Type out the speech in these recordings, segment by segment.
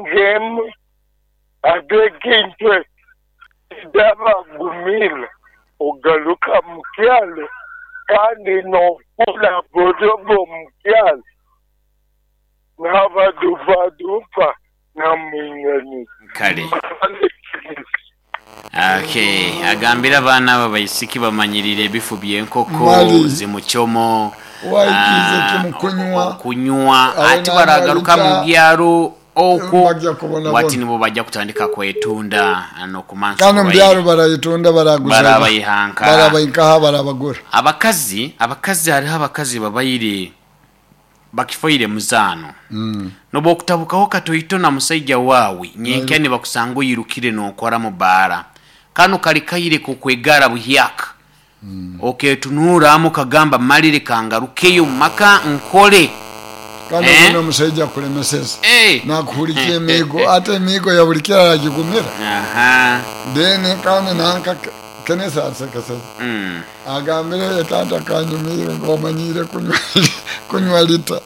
Ngemu ate ekintu ekyo kidabagumira ogaruka mu kyalo kandi n'ofuula bodobo mu kyalo n'abaduupaduupa namwinganiza. Kale. Okay, agambire abaana abo abaisiki bamanyirire ebifu by'enkoko, Mali zi muchomo, waikiize kimu kunywa, okunywa awe ati nanywa baragaruka mu lita byaro okwo bagya wati kubonabona. nibo bajja kutandika kwetunda n'okumansa Kandi omu oburwaire. byaro barayetunda baraguza Barabayihanka. barabainkaha barabagura. Abakazi, abakazi hariho abakazi babaire bakifoire muzaano. Nobwokutabukaho katoito na musaija waawe, nyenkya nibakusanga oirukire nokora mu baara. Kanu kali kaire k'okwegara buhyaka. Oketunuuramu okagamba malire kangarukeyo omu maka nkole. Kandi Eh? obone omusaija akulemeseza Eh! nakuhurikia emiigo ate emiigo ya buli kiro aragigumira. Aha. Then kandi nanka Kenneth ansekeseze agambire taata kanyumiire ngu omanyiire kunywa lita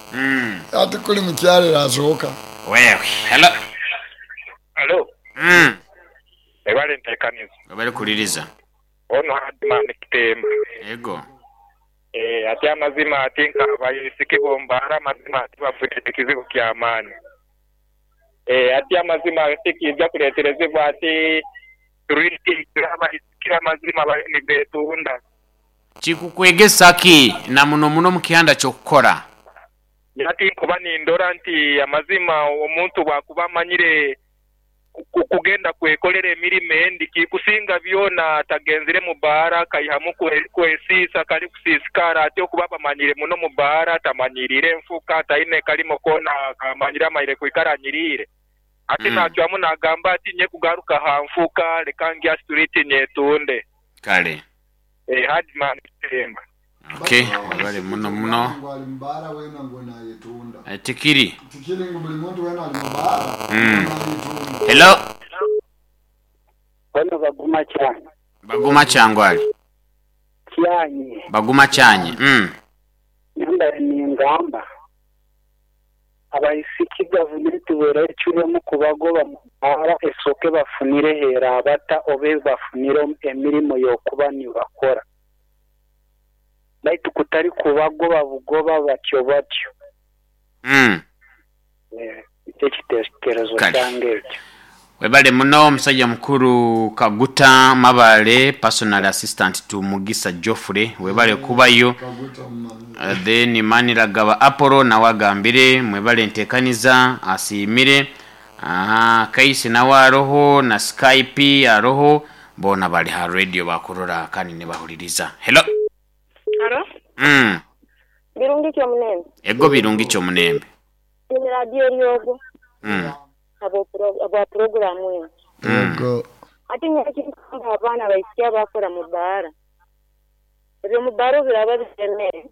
ati kuli mukyalo erasoka. Wewe. Hello. Halo. Webale ntekaniza. Webale kuliriza. Ono Hardman Kitemba. Ego. Eeh ati amazima ati nka abaisiki bombaara amazima ati bafunire ekizibu kyamaani. Eeh ati amazima ati kiija kuleterezebwa ati street abaisiki amazima baliyo nibetunda. Kikukwegesa ki na muno muno mu kihanda ky'okukora? Ati nkuba nindora nti amazima omuntu bwakuba amanyire kugenda kwekolera emirimo endi kikusinga byona atagenzire mu bbaara akaihamu kwesiisa kali kusiisikara ati okuba bamanyire muno mu bbaara tamanyiriire nfuka taine kalimo koona kamanyire amaire kwikara anyiriire ati nacwamu nagamba ati nye kugaruka ha nfuka leka ngye ha situliiti nyetunde. Kale. Eeh Hardman Kitemba. Ok webale muno muno. Ngu ali mubaara wena ngu nayetunda. Tikiri. Tikiri ngu buli muntu wena ali mubaara ngu nayetunda. Hello. Bano Baguma Kyanyi. Baguma Kyangwali. Kyanyi. Baguma Kyanyi. Nyambaire ningamba abaisiki gavumenti bwera ecwiremu kubagoba mu baara esooke bafunire h'eraabata oba ebafunire emirimo y'okuba nibakora. Baitu kutali kubagoba bugoba batyo batyo. Nikyo ekitekerezo Kale. kyange ekyo. Webale muno musajja mukulu Kaguta Mabale personal assistant to Mugisa Geoffrey webale kubayo. Then Maniragaba Apollo nawe agambire mwebale entekaniza asiimire. Ahaa Kaisi nawe aroho na Skype aroho boona bali ha radio bakurora kandi nibahuririza. Hello. Halo. Birungi ki omunembe? Ego birungi ki omunembe? Ni radio Eryogo habwa puroguramu eno. Ego. Ati nyowe ekinkugamba abaana abaisiki abakora mu bbaara, eby'omu bbaara obubiraaba biremere,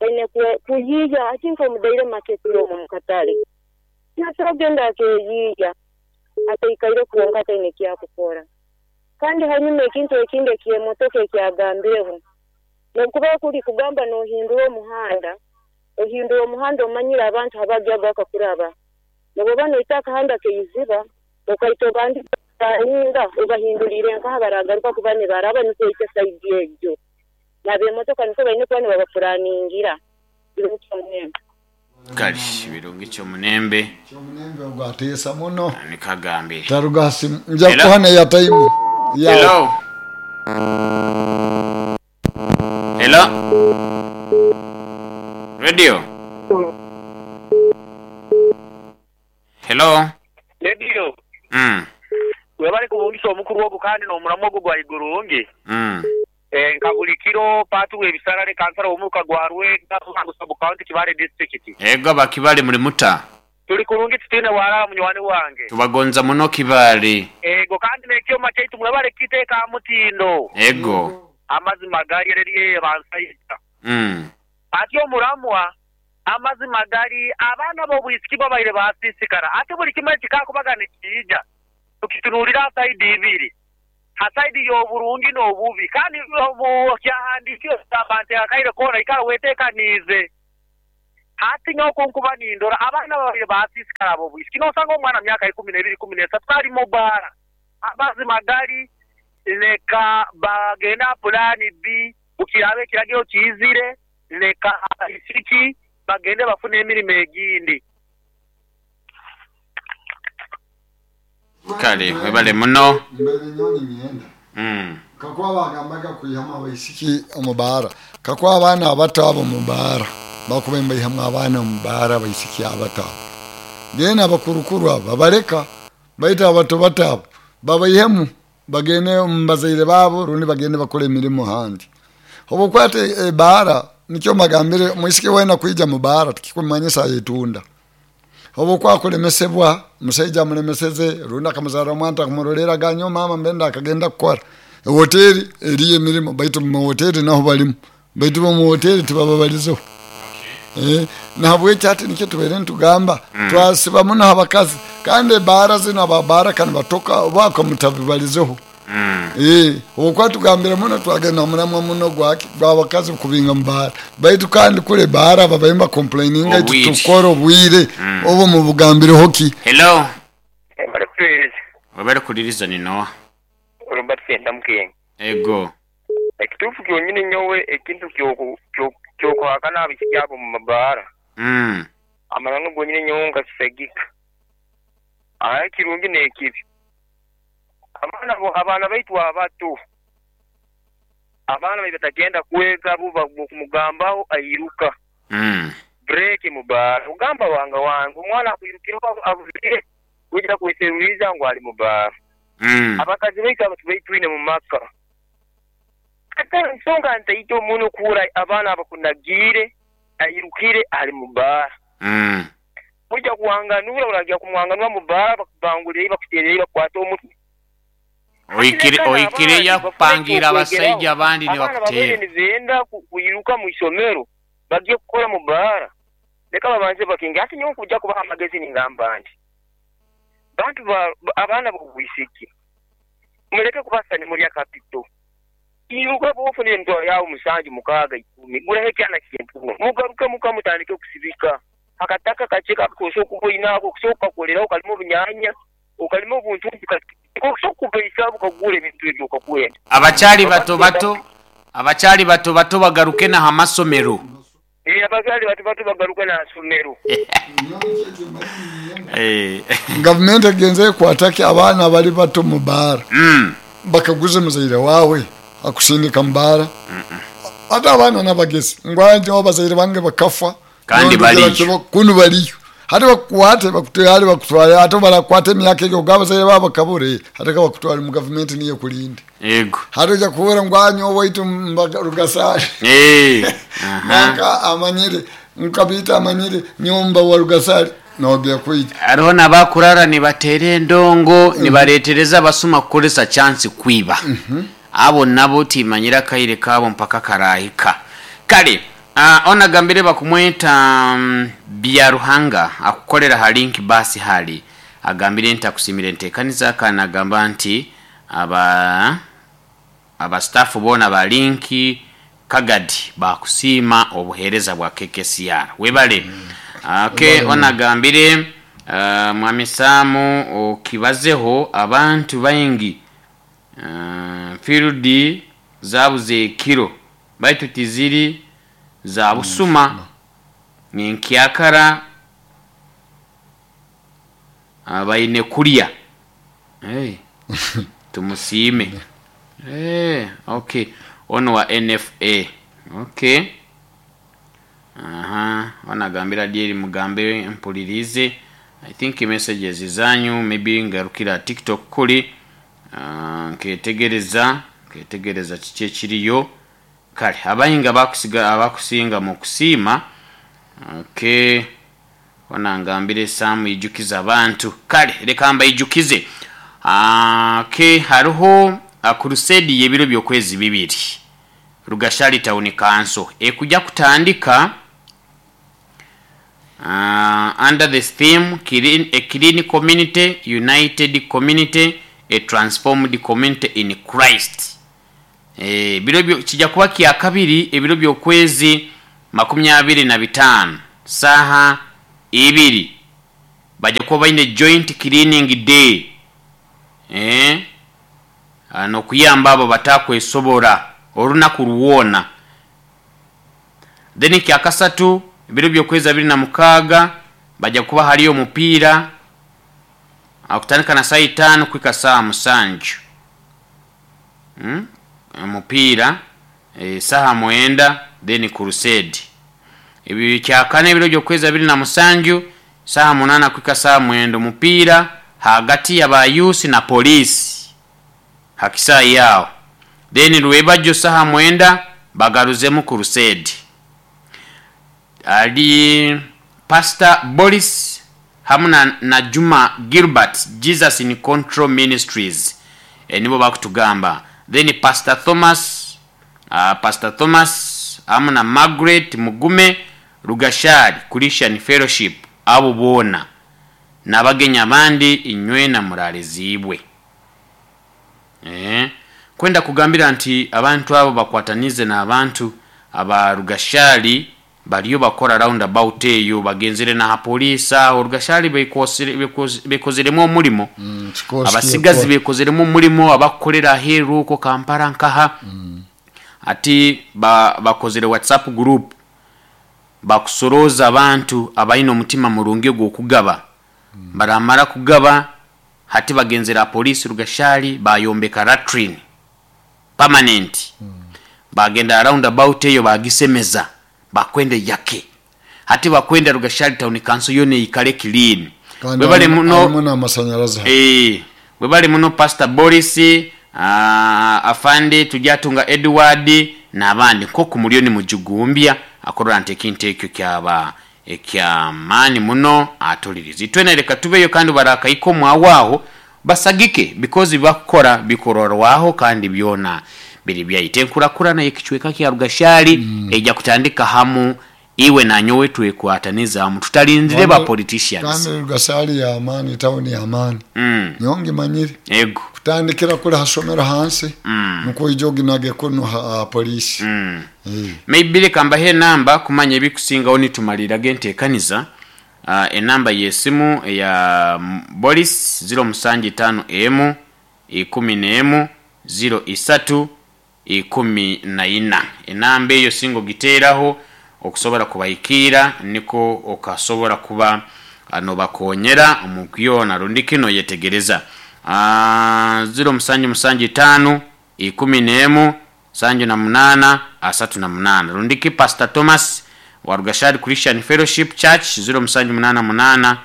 baine kuyiiya hati nk'omu daire maketi omwo omu katale, nasobora kugenda akeeyiiya ataikaire kwonka ataine ekyakukora. Kandi hanyuma ekintu ekindi eky'emotoka ekyagambireho, n'obukuba kuri kugamba n'ohindura omuhanda, ohindura omuhanda omanyire abantu habagya bakakuraba. N'obwoba noita akahanda k'eiziba, okaita obandize kutaninga obahinduriire nkaha baragaruka kuba nibaraba nikwo oite saidi egyo. N'abemotoka nikwo baine kuba nibabapuraningira. Birungi Kyomunembe. Kale Birungi Kyomunembe. Kyomunembe ogwo ateesa muno. Nikwo agambire. Taruga ha simu. Nja Hello. kukuha n'eyataimu yaawe. Hello. Hello. Radio. Hello. Radio. Webale kubungisa omukulu ogwo kandi n'omulamwa ogwo gwa igurungi. Nka buli kiro Paatu w'Ebisarare, Kansala w'omuruka gwa Lwega, Ruhango Sub County, Kibale District. Ego aba Kibale muli muta? Tuli kurungi titwine bwalala munywani wange. Tubagonza muno Kibale. Ego kandi n'ekyoma kyaitu mwebale kukiteeka aha mutindo. Ego. Amazima gali ere eriyo bansaija. Ati omulamwa, Amazima gali abaana b'obwisiki babaire baasiisikara ati buli kimwe ekikaakubaga nikiija tukitunuulira ha saidi ibiri, ha saidi y'oburungi n'obubi. Kandi omu kyahandiikirwe kigamba nti akaire koona ikara weteekaniize. Hati nyowe oku nkuba nindora, abaana babaire baasiisikara ab'obwisiki. Noosanga omwana myaka 12, 13 ali mu bbaara. Amazima gali, leka bagende aha pulaani B, bukiraaba ekiragiro kiizire, leka abaisiki bagende bafune emirimo egindi. Kale webale muno. Mbaire nyowe niinyenda kakuba baagambaga kwihamu abaisiki omu baara, kakuba abaana abato abo omu baara bakubaire nibaihamu abaana omu baara abaisiki abato abo. Then abakurukuru abo babaleka baitu abato bato abo babaihemu bagende omu bazaire baabo rundi bagende bakole emirimo ahandi. Obu okwata ebaara nikyo mbagambire omwisiki weena kwija mu baara tikikumanyisa ayetunda. Obu okuba akulemesebwa, omusaija amulemeseze rundi akamuzarra omwana takumuroreraga nyowe maama mbe ndakagenda kukora. Ehoteri eriyo emirimo baitu omu hoteri naho balimu baitu bo omu hoteri tibababalizeho. Nahabweki hati nikyo tubaire nitugamba twasiba muno ha bakazi kandi ebaara zinu aba baara ka nibatoka oba ako mutabibalizeho. Obu tugambire muno twagenda ha muramwa muno gwaki gw'abakazi kubinga mu baara baitu kandi kuri ebaara babaire nibakomplaininga itwe Obwire. tukukora obwire obu mubugambireho ki? Hello. Webale kutuheereza. Webale kuliriza ni Noah. Robert Sentamu King. Ego. Ekituufu kyonyini nyowe ekintu ky'okuhakana abaisiki abo omu mabaara, amananu gonyini nyowe nkakisagika. Aye ekirungi n'ekibi, abaana bo, abaana baitu abato, abaana baitu batakyenda kwega bo bw'okumugambaho airuka. Break mu baara. Ogamba wanga wange omwana akwirukireho abuzire, oija kweseruriza ngu ali mu baara. Abakazi baitu abo tubaitwine mu maka. Ate ensonga ntaito muno kuhurra abaana abakunagiire airukire ali mu bbaara. Oija kuwanganura, oragya kumwanganura mu bbaara bakubangulireyo bakuteereyo bakukwate omutwe. Hati leka Oikireyo n'abandi bafune akupangiire eky'okwegeraho. abasaija abandi Abaana babaire nibakuteera. nibenda kwiruka mu isomero bagye kukora mu bbaara, leka babanze bakinge. Hati nyowe nkuja kubaha amagezi ningamba nti, Bantu ba, abaana b'obwisiki, muleke kubasa nimulya kapito. Iruka bw'ofunire emitwaro yaawe musanju, mukaaga, ikumi, guraho ekyana ky'empunu, mugaruke muka mutandike kusibika. Akataka kakye k'osobora kuba oine ako okusobora kukakoleraho okalima obunyaanya, okalima obuntuntu kake, k'osobora kukubaisaaho bukakugurra ebintu ebi okakwenda. Abakyali bato bato, abakyali bato bato bagaruke na ha masomero. Eeh abakyali bato bato bagaruke na somero. Gavumenti egenze ekwata ki abaana abali bato mu baara? Bakaguze muzaire waawe akusindika mu baara? Ate abaana nabagezi ngu aye nyowe abazaire bange bakafa Kandi nyowe ndugira baliyo. kibo kunu baliyo. Hati bakukwate bakutware bakutware ate barakukwata emyaka egyo ogambe abazaire baawe bakabura hati ka bakutware mu gavumenti niyo ekurinde. Yego. Hati oija kuhurra ngu aah nyowe owaitu mba Rugasaali. Aha. Nanka amanyire ngu Kabiito amanyire nyowe mba wa Rugasaali noogya kwija. Hariho n'abakurara nibateera endongo nibareetereza abasuma kukoresa chansi kwiba. Abo nabo timanyire akaire kaabo mpaka karaahika. Kale onu agambire bakumweta Byaruhanga akukorera aha Link Bus hali agambire nti akusiimire enteekaniza kandi nagamba nti Aba aba staff boona ba Link Kagadi baakusiima obuheereza bwa KKCR. Webale. Ok, ono agambire Mwami Sam okibazeho abantu baingi field zabuze ekiro baitu tiziri za busuma ninkyakara Baine kulya. Hey. Tumusiime. Hey, okay. Ono wa NFA. Okay. Aha, ono agambira Adyeri mugambe mpuliriize. I think messages zanyu maybe ngarukira aha TikTok kuri nketegereza nketegereza kiki ekiriyo. Kale abaingi abakusiga abakusinga mu kusiima. Okay. Hona ngambire Sam ijukiza abantu. Kale leka mbaijukize. Okay, hariho crusade y'ebiro by'okwezi bibiri Rugashari Town Council ekuja kutandika under the theme a clean community, united community, a transformed community in Christ. Ebiro byo kija kuba kyakabiri ebiro by'okwezi 25. Saha 2 bajja kuba baine joint cleaning day, n'okuyamba abo batakwesobora olunaku lwona. Then kyakasatu ebiro by'okwezi 26 bajja kuba haliyo omupiira akutandika na saa 5 kuhika saa 7. Omupiira saha 9 then crusade. Ebyo kyakana ebiro by'okwezi 27 saha 8 kuhika saa 9 omupiira hagati ya bayusi na polisi hakisaayi yao. Then lwebajo saha 9 bagaruzemu crusade. Ali Pastor Boris hamu na Juma Gilbert, Jesus in Control Ministries, nibo bakutugamba. Then Pastor Thomas hamu na Margaret Mugume Rugashari Christian Fellowship, abo boona n'abagenya abandi inywe na muralizibwe. Kwenda kugambira nti abantu abo bakwatanize n'abantu aba Rugashari baliyo bakora roundabout eyo bagenzere na polisi aho Rugashari bekozeremu omulimo. Abasigazi bekozeremu omulimo abakolera aheeru ko Kampala nkaha. Ati bakozere WhatsApp group bakusoroza abantu abayina omutima murungi gw'okugaba. Baramara kugaba hati bagenzera polisi Rugashari bayombeka latrine permanent. Bagenda roundabout eyo bagisemeza bakwende yake hati bakwenda Rugashari town council yone ikale clean. Webale muno webale muno Pastor Boris, afande Tujatunga Edward n'abandi nko mulioni mujugumbya akorora nti ekintu ekyo kyaba ekyamaani muno atuliriza. Itwena reka tubeyo kandi barakaiko mwawaho basagike because bakora bikororwaho kandi byona biri byayite nkurakurana ekichweka kya Rugashari ejja kutandika hamu iwe na nyowe twekwataniza mu tutalinzire ba politicians. Kandi Rugashari ya amani town ya amani. Nyonge manyire. Ego. Kutandikira kuri hasomero hansi nuko ijogi nage kuno polisi. Maybe reka mbahe namba kumanya ebikusingaho nitumalira gentekaniza. Enamba yesimu ya Boris 075 M 11 03 14. Enamba eyo singo giteraho okusobola kubaikira niko okasobola kuba nobakonyera omukyona rundi kino yetegereza. 075 11 78 38 rundiki Pastor Thomas wa Rugashari Christian Fellowship Church 0788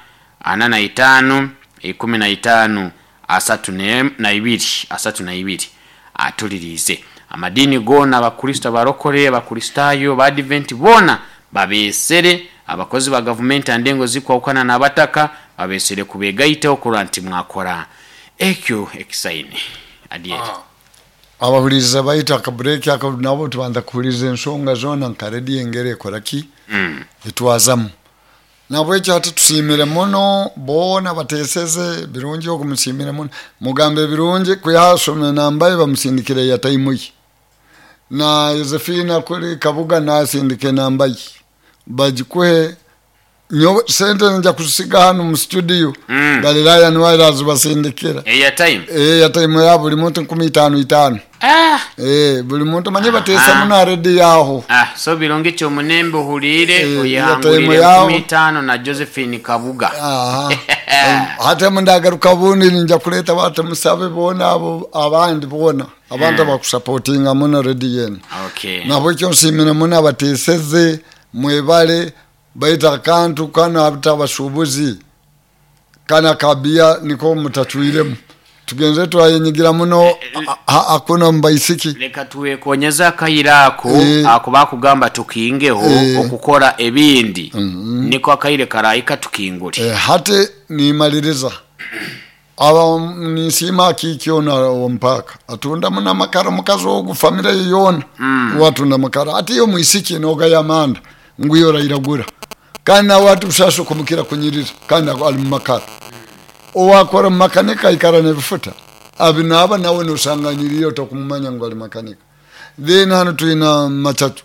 45 15 32 32 atulirize. Amadini gona abakristo abarokore abakristayo abadvent bona babesere abakozi ba government andengo zikwawukana n'abataka babesere kubegaita okurwa nti mwakora ekyo ekisaini adiye. Abahuriza bayita akabreak aka nabo tubanza kuhuriza ensonga zona nka radio engere ekoraki etwazamu. Nabwo ekyo hati tusiimire muno boona bateseze birungi okumusiimire muno mugambe birungi kuyasome nambaye bamusindikire ya time ye na Josephine kuri Kabuga nasindike nambaye bagikuhe nyo sente nja kusiga hano mu studio. Galilaya niwe azibasindikira ya time ya time ya buli muntu 15 buli muntu manye batesa muno ready yaho. So birungi cyo munembe uhurire oyangurire 15 na Josephine Kabuga. Hata mundagaruka bundi nja kuleta batu musabe bona abo abandi bona abantu bakusupportinga muno ready yenu. Okay. Nabo cyo nsimira muno abateseze mwebale baita kantu kana atabashubuzi kana kabia niko mutatuiremu tugenze twayenyigira muno akuna mbaisiki leka tuwekonyeza akayira ako akuba kugamba tukingeho okukora ebindi niko akayire karayika tukingure. Hate nimaliriza aba nisima kikyona ompaka atunda muna makara mukazi ogu family yona watunda makara ati yo muisiki noga yamanda nguyo rairagura kandi nawe ati ushasha kumukira kunyirira kandi ali mu makara owakora makanika ikara nebifuta abinaba nawe nosanganyiriyo tokumumanya ngo ali makanika. Then hano tuina matatu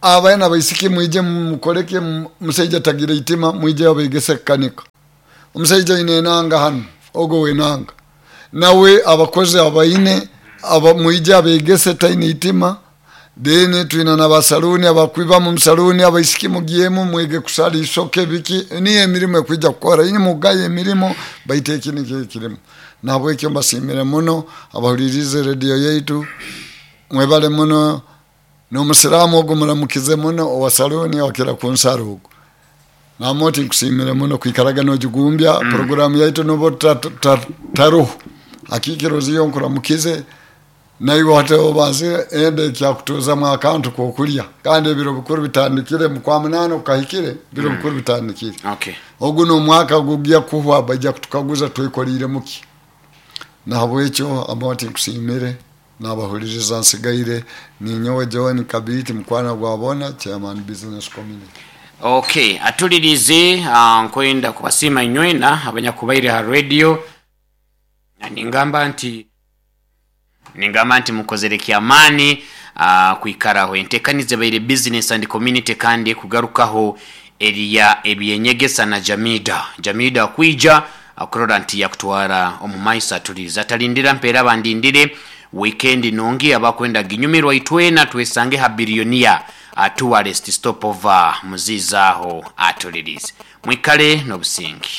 Abaana baisiki mwije mukoleke, musaija tagira itima, mwije abegese kukanika. Omusaija aine enanga hanu, ogo wenanga nawe abakozi abaine aba mwije abegese taine itima. Then twina n'abasaluni abakwiba mu saluni, abaisiki mugyemu mwege kusala isoke biki, niyo emirimu ekwija kukora inye mugaye emirimu, baitu eki nikyo ekirimu. Nahabwekyo mbasiimire muno abahulirize rediyo yaitu, mwebale muno. N'omusiraamu ogu muramukize muno owa saluni wakira kunsara ogu namoti, nkusiimire muno kwikaraga nogigumbya programu yaitu nubo taruho akikiro ziyo. Nkuramukize naiwe hati obanzire ende ekyakutuzamu akantu kokulya, kandi ebiro bikuru bitandikire mukwa munana okahikire, biro bikuru bitandikire. Ogu n'omwaka gugya kuhwa, bajja kutukaguza twekolire muki. Nahabwekyo amoti nkusiimire nabahuliriza nsigaire ninyowe John Kabiti, mukwana gwa bona, chairman business community. Okay, atulirize, nkwenda kubasiima inywena abanyakubaire ha radio. Na ningamba nti mukozere kyamaani kwikaraho entekaniza ebaire business and community, kandi kugarukaho eriya ebyenyegesa na Jamida Jamida kwija kurora nti yakutwara omu maiso. Atulirize atalindira mpeera bandindire weekend nungi, abakwenda ginyumirwa itwena twesange ha Billionaire Tourist Stopover muzizaaho. Atulirize, mwikale n'obusingi.